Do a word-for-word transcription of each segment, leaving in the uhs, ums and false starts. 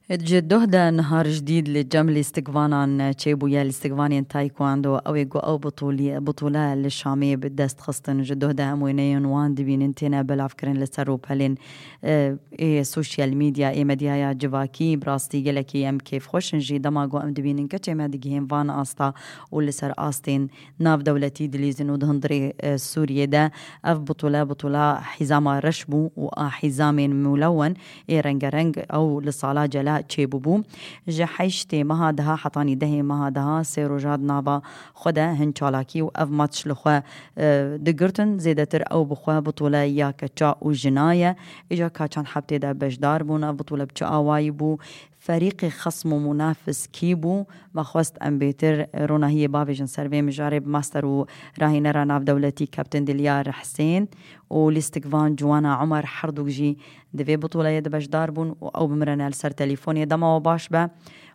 Ji doh de niha rijdîd li cem lîstikvanan çêbûye, lîstikvanên taekwondo. Ew ê ku ew bitûlî-, bitûle li Şamê bi dest xistin. Ji doh de em wêneyên wan dibînin têne belavkirin li ser rûpelên, e, ê sosyal medya, ê medyaya civakî. Bi rastî gelekî em kêfxweş in jî dema ku em dibînin keçê me digihên van asta û li ser astên navdewletî dilîzin û di hundirê, e, Sûriyê de ev bitûle, bitûla hîzama reş bû û a hîzamên mûlewen ê rengereng ew li sala cela çêbûbû. Ji heştê meha deha hetanî dehê meha deha sê roja di nava xwe de hin çalakî û ev maç li xwe, e, digirtin. Zêdetir ew bi xwe bitûle ya keça û jina ye. Îca ka çend hebtê de beşdar bûn, ev bitûle bi çi awayî bû? Ferîqê xesm û munafis kî bû? Me xwest em bêtir ronahiyê bavêjin ser vê mijarê bi master û rahînera navdewletî Kaptin Dilyar Hisên û lîstikvan Ciwana Omer, herdûk jî di vê bitûleyê de beşdar bûn û ew bi min re ne li ser telîfonê. Dema we baş be,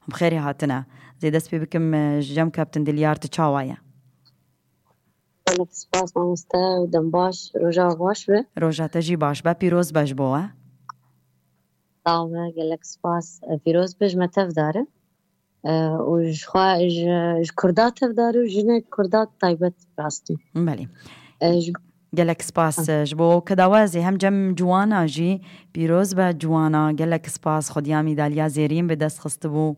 hûn bi xêrê hatine. Ez ê dest pê bikim, e, ji cem Kaptin Dilyar, tu çawa ye? Gelek spas mamoste û dem baş, roja we baş be. Roja te jî baş be, pîroz be ji bo we. Sağ ol, gelek spas. E, pîroz be, ji me tevdar e. E, û ji xwe, ji, ji Kurda tevdar e û jinê Kurda taybet rastî. Belê. E, ji Gelek spas, e, ji bo keda we. Ez ê hem cem Ciwana jî, pîroz be Ciwana, gelek spas, xwediya mîdalya zêrîn bi dest xistibû.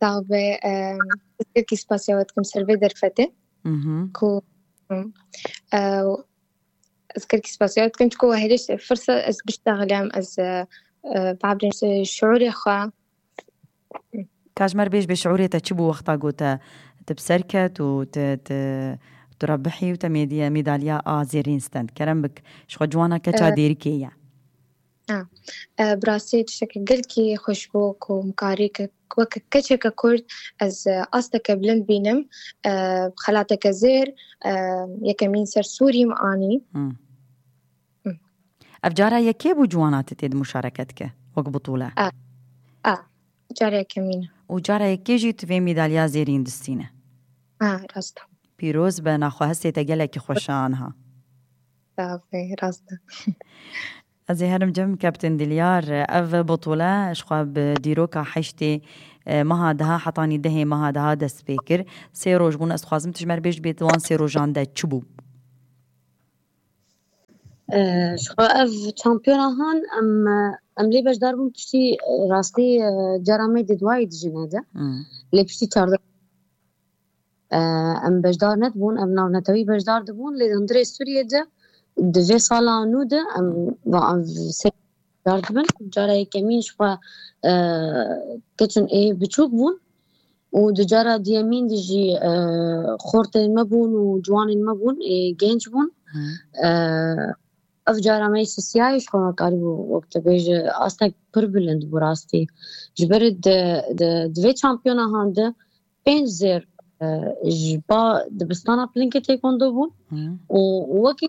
Sağ be, e, ez gelkî spasiya we dikim ser vê derfetê. Mhm. Ku, e, ez gelkî spasiya we dikim, çiko we hêrî firsa ez biştexilem, ez, e, e, babirên şiûrê xwe. Ka ji me re bêj, bê şiûrê te çi bû wexta ku te, te bi ser ket û te, te, tu rebihî û te mêdiye-, mîdalya a zêrîn stend? Kerem bik, ji xwe Ciwana keça, e, Dêrikê ye. Ha. E, bi rastî tiştekî gelkî xweş bû ku min karî ke-, weke keçeke Kurd ez, e, asteke bilind bînim, e, xelateke zêr, e, yekemîn ser Sûrî min anî. Hmm. Hmm. Ev cara yekê bû Ciwana tu tê de muşareket ke wek bitûle? A, a, cara yekemîn e. Û cara yekê jî tu vê mîdalya zêrîn distîne? Ha, rast e. Pîroz be, naxwe hestê te gelekî xweş e aniha. Sağ ol, rast e. Ez ê herim cem Kaptin Dilyar, ev bitûle ji xwe bi dîroka heştê, e, meha deha hetanî dehê meha deha dest pê kir. Sê roj bûn, ez dixwazim tu ji me re bêj, bê di wan sê rojan de çi bû? E, ji xwe ev şampiyona han em, em lê beşdar bûn piştî, e, rastî, e, cara me di duayî dijî nede. Hmm. Lê piştî çardeh E, em beşdar nedibûn, em navnetewî beşdar dibûn, lê di hundirê Sûriyê de di vê sala nû de em va ev sê beşdar dibin. Cara yekemîn ji xwe, e, keçin ê biçûk bûn û di cara diyemîn de jî, e, xortên me bûn û ciwanên me bûn, ê genc bûn. Hı. E, ev cara me sisiyayê ji xwe me karîbû, wek te bêje, astek pir bilind bû rastî. Ji ber di, di, di vê şampiyona han de pênc zêr, e, ji ba dibistana Plingê Taekwondo bûn. Hı. Û wekî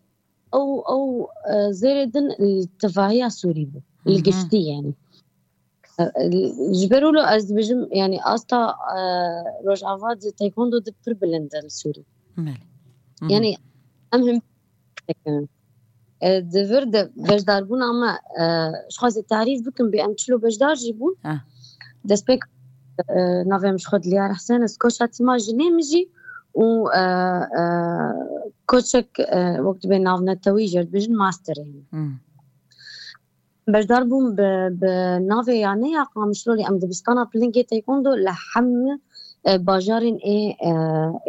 ew, ew, e, zêrê din li tevahiya Sûrî bû. Hı hı. Li giştî yani. E, e, ji ber wilo ez dibêjim, yani asta, e, Rojava di Taekwondo di pir bilind e li Sûrî. Belê. Hı hı. Yani em him E, di vir de beşdarbûna me, e, ji xwe zê tarîf bikim, bê em çilo beşdar jî bûn. Ah. Destpêk, e, navê min ji xwe Dilyar Hesen, ez koça tîma jinê min jî û, e, e, koçek, e, wek dibê navnetewî jê dibêjin masterê min. Hmm. Beşdar bûm bi, bi navê yaneya Qamişlo, lê em dibistana Plingê Taekwondo li hemî, e, bajarên ê, e,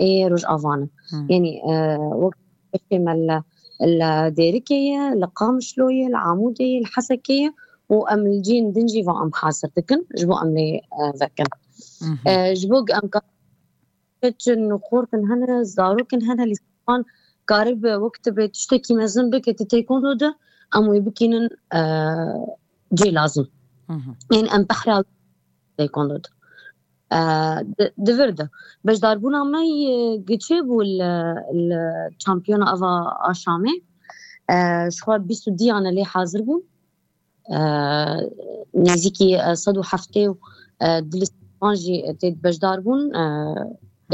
ê Rojava ne. Hmm. Yanî, e, wek Keşê me li, li Dêrikê ye, li Qamişlo ye, li Amûdê ye, li Hesekê ye û em li cihên din jî va em hazir dikin, ji bo em lê, e, vekin. Mhm. E, ji bo em ka-, keçin û xortin hene, zarokin hene, lîstikvan karibe wek tu bê tiştekî mezin bike, tu têkondo de, em wê bikînin, e, cê lazim. Mhm. Ên em behra têkondo de. E, di, di vir de. Beşdarbûna me yê giçê bû li, li şampiyona ava a Şamê. E, ji xwe bîst û diyane lê hazir bûn. E, nêzîkî, e, sed û heftê û, e, dilîstan jî tê beşdar bûn, e,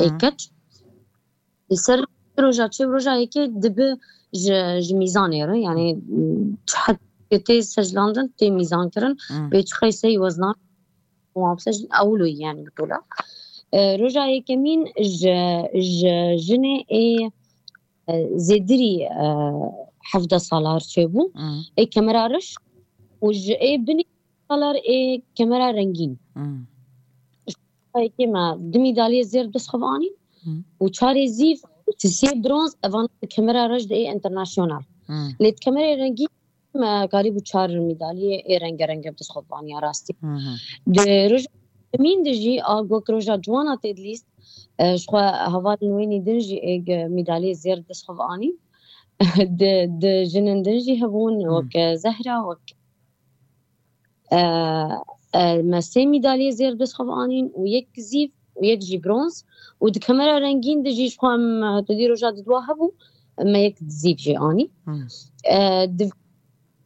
ê Hı. keç. Li ser roja çê û roja yekê dibe ji, ji mîzanê re, yani, çi hed tê seclandin, tê mîzan kirin, Hmm. pê çi qeyseyî weznan, û hevsed jin ewlo, yani bitola. E, roja yekemîn ji, ji jinê ê, e, zêdirî, e, hevdeh salar çêbû. Hmm. Ê kemera reş û ji ê binî salar ê kemera rengîn. Hmm. Yekê me du mîdalyê zêr bi dest xwe anîn Hmm. û çarê zîv, sê bronz, evan bi kemera reş de ê internasyonal. Hmm. Lê di kemerê rengîn me karîbû çar mîdalyê ê rengerenge bi dest xwe aniya rastî. Hı hı. Di roja yekemîn de jî a wek roja ciwana tê dilîst, e, ji xwe hevalên wê nî din jî ê mîdalyê zêr bi dest xwe anîn. Di, di jinin din jî hebûn, Hı. wek, e, Zehra, wek, e, e, me sê mîdalyê zêr bi dest xwe anîn û yek zîv û yek jî bronz û di kemera rengîn de jî ji xwe em, e, tu dî roja di dua hebû, me yek zîv jî anî. Hı. E, di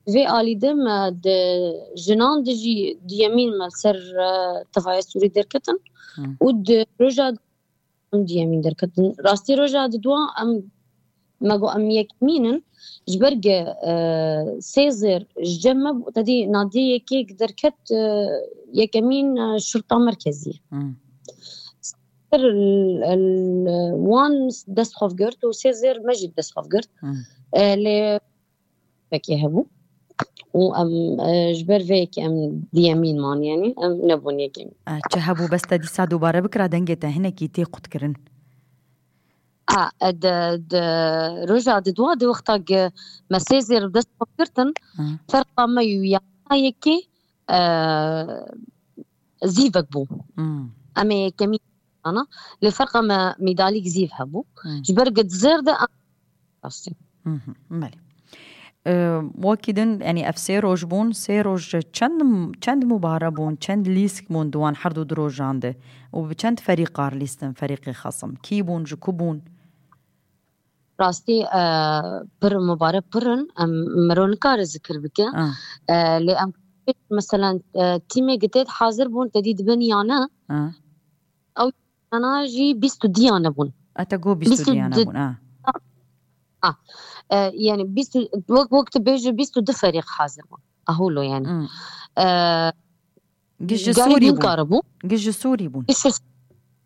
vê alî de me di jinan de jî duyemîn me ser, e, tevaya Sûrî derketin Hı. û di roja em duyemîn derketin. Rastî roja di dua em, me got em yekemîn in. Ji ber ge, e, sê zêr ji cem me bû, tedî nadî yekê derket, e, yekemîn, e, şurta merkezî. Hı. Sê zêr, e, wan dest xwe girt û sê zêr me jî dest xwe girt. Hı. E, lê vekê hebû. Û em, e, ji ber vê yekê em duyemîn man, yani em nebûn yekemîn. E, çi hebû bes te dîsa dubare bikira dengê te hinekî tê qutkirin? A, e, di, di roja di dua di wexta ge me sê zêr bi dest xwe girtin, Hı. ferqa me û ya yekê, e, zîvek bû. Hmm. Em ê yekemîn ana, lê ferqa me mîdalîk zîv hebû. Hmm. Ji ber ge di zêr de em rastî. Hı hı, belê. Ee, wekî din, yani ev sê roj bûn, sê roj çend, çend mubare bûn, çend lîsk bûn di wan her du du rojan de? Û bi çend ferîqar lîstin, ferîqê xesim? Kî bûn, ji ku bûn? Rastî, e, pir mubare pir in, em, miro nikare zikir bike. Ah. E, lê em, mesela, e, tîmê gitêt hazir bûn, te dî dibin ya ne? Ah. Ew yana jî bîst û diya nebûn. Ete go bîst û diya nebûn, ah. Ah. E, yani bîst û, wek, wek tu bêjî bîst û du ferîq hazir bûn. Ahûlo yani. Hmm. E, Giş ji Sûrî bûn. Giş ji Sûrî bûn. Giş ji,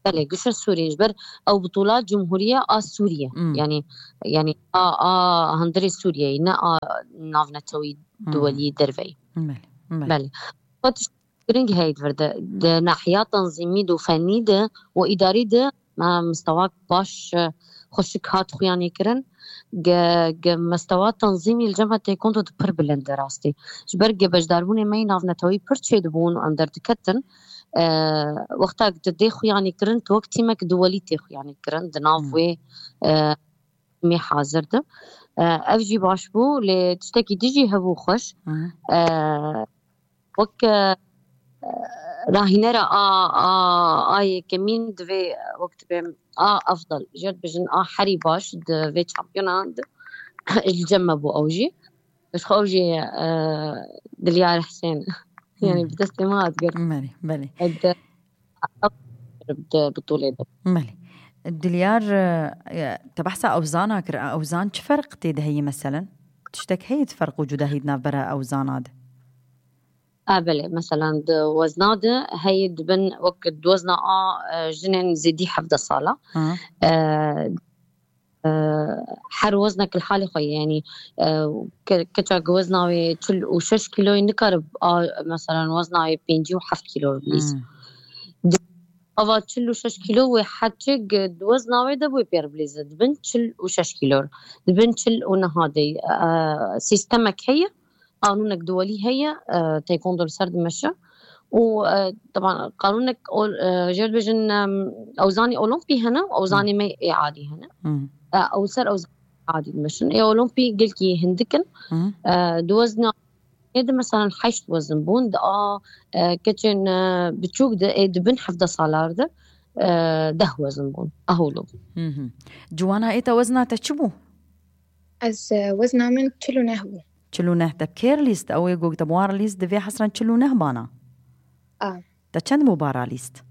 belê, giş ji Sûrî. Ji ber ew bitola Cumhuriye a Sûriye. Hmm. Yani, yani a, a hundirê Sûriyeyê, ne a navnetewî Hmm. duwelî derveyî. Belê, belê. Belê. Xwe tişt giring heye di vir de. Di nahiya tenzîmî de û fennî de û îdarî de me mistewak baş, e, xweşik hat xuyanî kirin. Ge, ge mestewa tenzîmî li cem me têkondo di pir bilind e rastî. Ji ber ge beşdarbûnê me yî navnetewî pir çêdibûn û em derdiketin. E, wexta tu dê xuyanî kirin, tu wek tîmek duwelî tê xuyanî kirin di nav Hmm. wê, e, tîmê hazir de. E, ev jî baş bû, lê tiştekî din jî hebû xweş. Hmm. E, wek, e, rahînera a, a, a yekemîn divê wek dibê a efdal. Jêr dibêjin a herî baş di vê çampiyona de. Li cem me bû ew jî. Ji xwe ew jî, e, Dilyar Husên. Yani Hmm. bi destê me hat girt. Belê, belê. E, di, di bitolê de. Belê. Dilyar, e, te behsa ewzana kir. Ewzan çi ferq tê de heye meselen? Tiştek heye di ferq û cudahî di navbera ewzana de? A, belê. Mesela di wezna de heye dibin wek di wezna a, e, jinên zêdî hevdeh sala. Ha. E, e, her weznek li halê xwe ye. Yani, e, ke-, keçek wezna wê çil û şeş kîloyê nikare a, mesela wezna wê pêncî û heft kîlo bilîz. Hmm. Di, ava çil û şeş kîlo wê heta çi di wezna wê de wê pêr bilîze. Dibin çil û şeş kîlo. Dibin çil û neha de, e, sîstemek heye. Qanûnek duwelî heye, e, taekwondo li ser dimeşe. Û, e, teban qanûnek ol-, e, jêr dibêjin, em, ewzanê olimpî hene, ewzanê Hmm. me ê adî hene. Hmm. E, ew ser ewzanê adî dimeşin. Ê olimpî gelkî hindik in. Hmm. E, di wezna ê de mesela heşt wezin bûn, di a, e, keçên, e, biçûk de ê dibin hevdeh salar de, e, deh wezin bûn. Aholo bûn. Hı hı. Ciwana ê te wezna te çi bû? Ez, e, wezna min çil û neh bû. Çil û neh te bi kê re lîst? Ew ê ku te bi wan re lîst, divê hesren çil û neh bana. A. Te çend mubara lîst?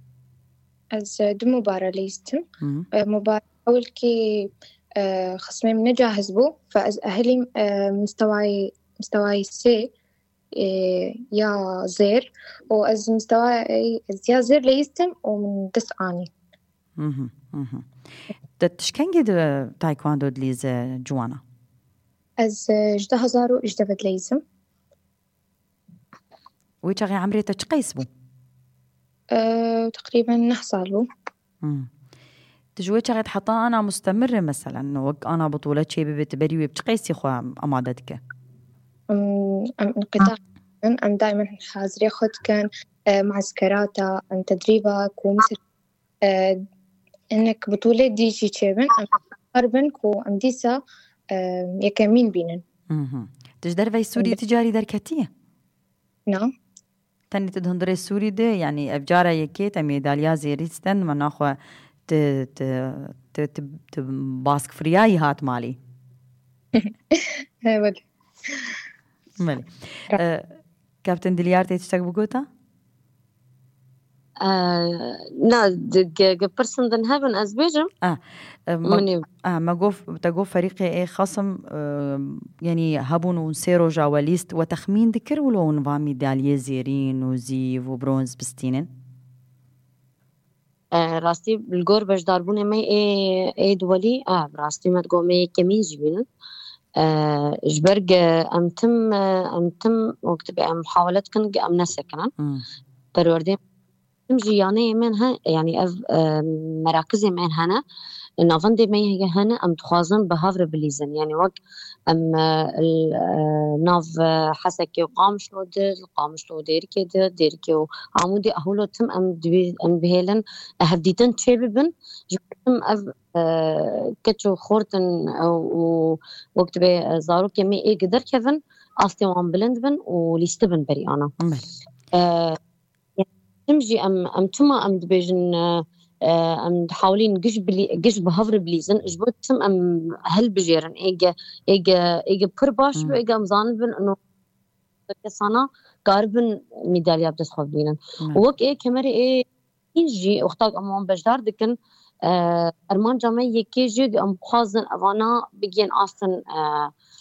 Ez, e, du mubara lîstim. Hı. E, mubara ewilkî, e, xismê min ne cahiz bû. Fe ez ehilîm, e, mistewayê, mistewayê sê. e, ya zêr û ez mistewaya ey, ez ya zêr leyîstim û min dest anî. Mhm, mhm. Te tu ji kengî di taekwondo dilîze ciwana? Ez, e, ji du hezar û hejdeh ve dileyîzim. Wê çaxê emrê te çi qeys bû? E, teqrîben neh sal bû. Hmm. Tu ji wê çaxê heta ana mustemir e, meselen, wek ana bitûle çê bibe, tu berî wê bi çi qeysî xwe amade dike? Em, em inqita, em, em daîmen hazirê xwe dikin, e, mueskerata, em tedrîba ku misal, e, hinek bitûlê dî jî çêbin, em kar bin ku em dîsa, e, yekemîn bînin. Mhm. Tu ji derveyî Sûriyê Em, ti carî derketiye? Na. Tenê tu di hundirê Sûrî de, yanî ev cara yekê te medalya zêrî stend, me naxwe tu, tu, tu, tu, tu baskfiriyayî hat malî. He, belê. Belê. Ra- E, Kapten Dilyar tê tiştek bigota? E, na, di, ge, ge pirsin din hebin, ez bêjim. Ah, e, ma, Min ê ah, me gof, te gof ferîqê ê xasim, e, yanî hebûn û sê roja we lîst we texmîn dikir wilo hûn va mîdalyê zêrîn û zîv û bronz bistînin? E, rastî li gor beşdarbûnê me ê, ê duwelî, e, bi rastî me digot me yekemîn jî bînin. E, ji ber ge em tim, e, em tim wek dibe em muhawele dikin ge em nesekinin. Hmm. Perwerdê tim jî yaneyê me he, yanî ev, e, merakizê me hene. Navendê me heye hene, em dixwazin bi hev re bilîzin. Yanî wek em, e, l-, e, nav, e, Hesekê û Qamişlo de, li Qamişlo û Dêrikê de, Dêrikê û Amûdê, Ahûlo tim em dibê-, em bihêlin, e, hevdîtin çêbibin. Ji ber tim ev, e, keç û xort in, e, û wek dibe, e, zarokê me ê gi derkevin, astê wan bilind bin û lîstibin berî ana. Belê. E, Tim jî em, em çima em dibêjin, e, e, em dihawilîn giş bilî-, giş bi hev re bilîzin, ji bo tim em hilbijêrin, ê ge, ê ge, ê ge pir baş Hmm. be, ê ge em zanibin, ino kesana karibin mîdalya bi dest xwe bigînin. Hmm. Û wek ê kemerê ê jî wexta em wan beşdar dikin, e, armanca me yekê jî em bixwazin evana bigihên astin, e,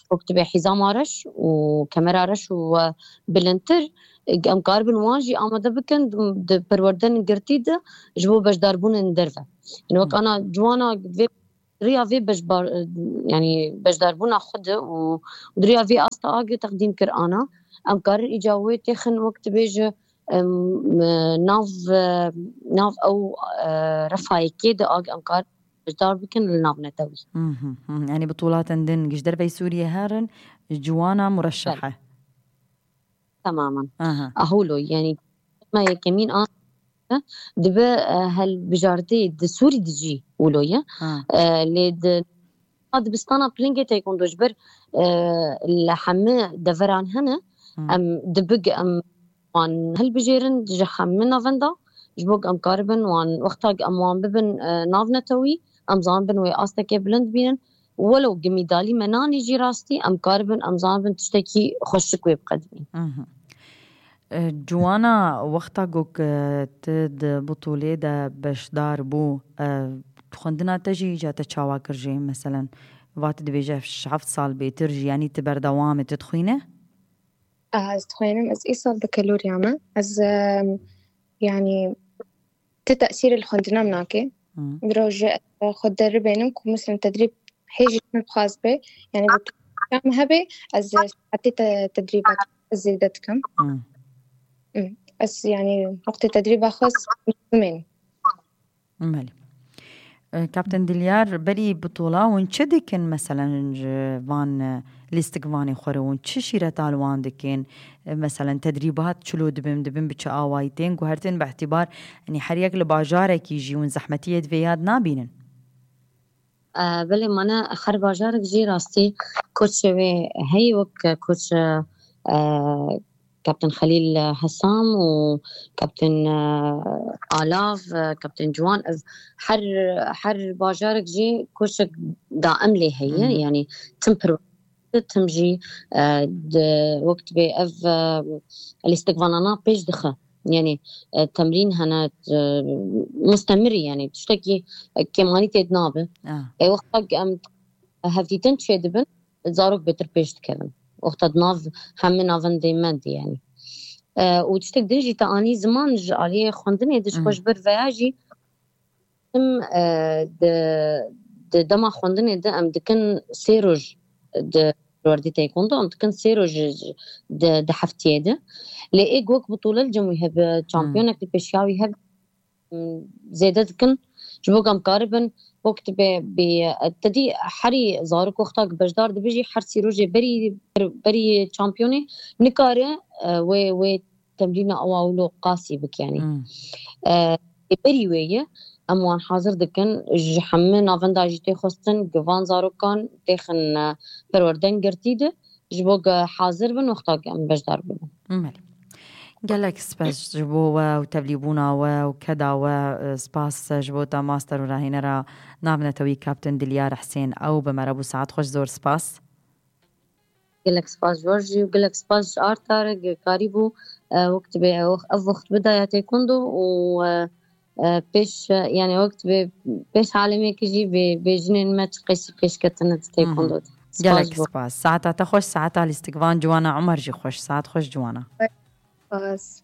wek dibe hîzama reş û kemera reş û, e, bilindtir, em karibin wan jî amade bikin di, di perwerdenin girtî de ji bo beşdarbûnên derve. Yanî wek Hmm. ana ciwana vê, riya vê beşbar, yanî beşdarbûna xwe de û di riya vê asta agê teqdîm kir ana, em karin îca wê têxin wek dibêje, em, nav, nav ew, e, refayekê de ag em kar beşdar bikin li nav netewî. Mhm, mhm. Yanî bitulatên din ji derveyî Sûriyê herin, ciwana mureşehe. Belê. Temamen. Aha. Ahûlo, yanî me yekemîn an dibe, e, helbijartê di Sûrî de jî wilo ye. Ha. E, lê di dibistana pilingê taekwondo ji ber, e, li hemî deveran hene, Hmm. em dibig em wan hilbijêrin ji hemî navenda, ji bo em karibin wan, wexta em wan bibin, e, navnetewî, em zanibin wê astekê bilind bînin. Welo gi mîdalî me nanî jî rastî, em karibin, em zanibin tiştekî xweşik wê biqedimîn. Mhm. E, Ciwana, wexta ku, e, tu di butûlê de beşdar bû, e, xwendina te jî îca te çawa kir jî? Meselen, va tu dibêje heft sal bêtir jî, yanî tu berdewam î, tu dixwîne? Aha, ez dixwînim, ez îsal bakalorya me. Ez, em, yanî, ti tesîrê li xwendina min nake. Hmm. Mirov ji xwe deribênim ku, mesela, tedrîb hê jî min bixwaz be, yanî, bi tu hebe, ez saetê te-, tedrîbat zêde dikim. Hmm. Hmm. Ez, yanî, wextê tedrîba xwe ez mezin. Belê. E, Kapten Dilyar, berî bitola hûn çi dikin, meselen, ji van, e, lîstikvanê xwe re hûn çi şîreta li wan dikin? E, meselen, tedrîbat çilo dibin, dibin bi çi awayî tên ku her tên bi îtîbar, yanî her yek li bajarekî jî hûn zehmetiyê di vê ya de nabînin? E, belê, mane her bajarek jî rastî koçê wê heye, wek koç, e, Kapten Xelîl Hesam û Kapten, e, Alav, e, Kapten Ciwan, ev her, her bajarek jî koçek daim lê heye. Hı hı. Yanî tim pir, tim jî, e, di, wek dibê ev, e, lîstikvanana pêş dixe. Yanî, e, temrîn hene, e, mustemirî, yanî tiştekî, e, kêmanî tê de nabe. Ah. Ê wexta em hevdîtin çêdibin, zarok bêtir pêş dikevin. Wexta di nav hemî navendê me de, yanî. E, û tiştek din jî te anî ziman ji aliyê xwendinê de, ji xwe ji ber veya jî em, e, di, di dema xwendinê de em dikin sê roj di perwerdê taekwondo, em dikin sê roj ji, di, di heftiyê de. Lê ê wek bitûle li cem wî hebe, çampiyonek li pêşiya wî hebe, em, zêde dikin, ji bo ku em karibin, wek tu bê, bê, te dî herî zarok wexta ku beşdar dibe jî her sî rojê berî, berî çampiyonê nikare, e, wê, wê temrîna ewa wilo qasî bik, yanî. E, berî wê ye, em wan hazir dikin, ji hemû navenda jî tê xwestin, ku van zarokan têxin, e, perwerden girtî de, ji bo ku hazir bin, wexta ku em beşdar bibin. Belê. Gelek spas ji bo we û tevlîbûna we û keda we, e, spas ji bo te master û rahînera navnetewî Kaptin Dilyar Husên. Ew bi me re bû, saet xweş, zor spas. Gelek spas ji we jî û gelek spas ji Arta re, ku karîbû, e, wek dibê ev, ev wext bidaya taekwondo û, e, e, pêş, e, yanî wek dibê pêş alemê ki jî bê, bê jinên me çi qeşî pêş ketine di taekwondo de. Gelek spas. Saeta te xweş, saeta lîstikvan Ciwana Umer jî xweş. Saet xweş Ciwana. Spas.